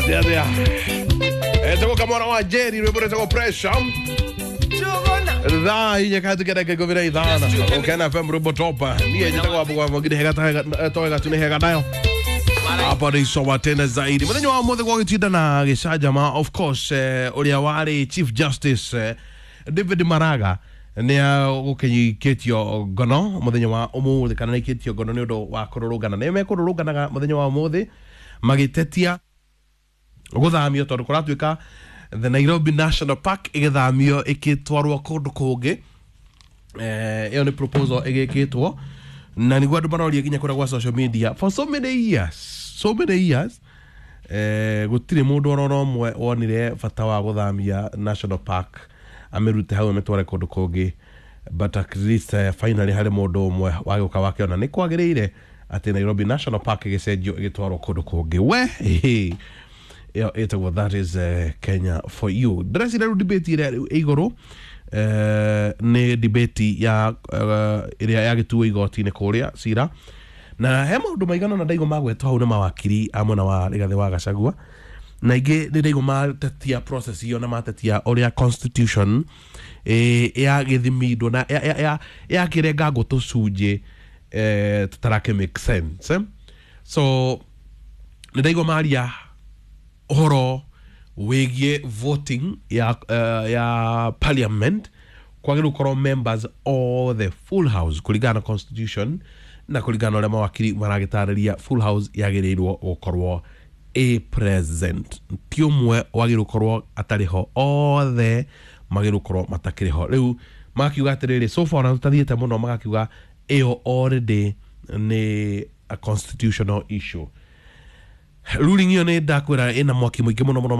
Atia atia. Etagwo kamwana wa Jerry, rwimbo rwĩtagwo Pressure. Thaa 4:45, Ukena FM, rwimbo topa. Niĩ njĩtagwo Wambũgũ wa Mwangiri, hega toega tu nĩ hega nayo hapa ni sawa tena zaidi. Muthenya wa umuthi gwagĩtinda na gĩcanjama, of course, ũrĩa warĩ Chief Justice, David Maraga, nĩ agũkĩikĩtio ngono mũthenya wa ũmũthĩ, kana nĩ aikĩtio ngono nĩ ũndũ wa kũrũrũngana. Nĩ mekũrũrũnganaga mũthenya wa ũmũthĩ magĩtetia gũthamio, tondũ kũratuĩka the Nairobi National Park ĩgĩthamio ĩkĩtwarwo kũndũ kũngĩ. Ĩyo nĩ proposal ĩgĩkĩtwo na nĩguo andũ maroria nginya kũrĩa gwa social media for so many years, so many years. Gũtirĩ mũndũ ororo ũmwe wonire bata wa gũthamia National Park, amĩrute hau amĩtware kũndũ kũngĩ, but at least, finally harĩ mũndũ ũmwe wagĩũka wakĩona nĩ kwagĩrĩire atĩ Nairobi National Park ĩgĩcenjio ĩgĩtwarwo kũndũ kũngĩ. We ĩyo ĩtagwo that is Kenya for you. Ndĩreciria rĩu debate ĩrĩa rĩu ĩ igũrũ, nĩ debate ya ĩrĩa yagĩtuo igoti-inĩ kũrĩa cira, na he maũndũ maigana na ndaigua magwetwo hau nĩ mawakiri a mwena wa Rigathĩ wa Gachagua, na ingĩ nĩ ndaigua matetia process ĩyo na matetia ũrĩa constitution yagĩthimindwo na yakĩrengangwo tũcunjĩ, tũtarakĩ make sense, eh? So nĩ ndaigua maria ũhoro wĩgiĩ voting ya parliament, kwagĩrĩirwo gũkorwo members all the full house kũringana na constitution, na kũringana na ũrĩa mawakiri maragĩtarĩria, full house yagĩrĩirwo gũkorwo a present, ti ũmwe wagĩrĩirwo gũkorwo atarĩ ho, othe magĩrĩirwo gũkorwo matakĩrĩ ho. Rĩu magakiuga atĩrĩrĩ, so far ona tũtathiĩte mũno, magakiuga ĩyo already nĩ a constitutional issue. Ruling ĩyo nĩ ndakwĩra ĩna mwaki mũingĩ mũno mũno.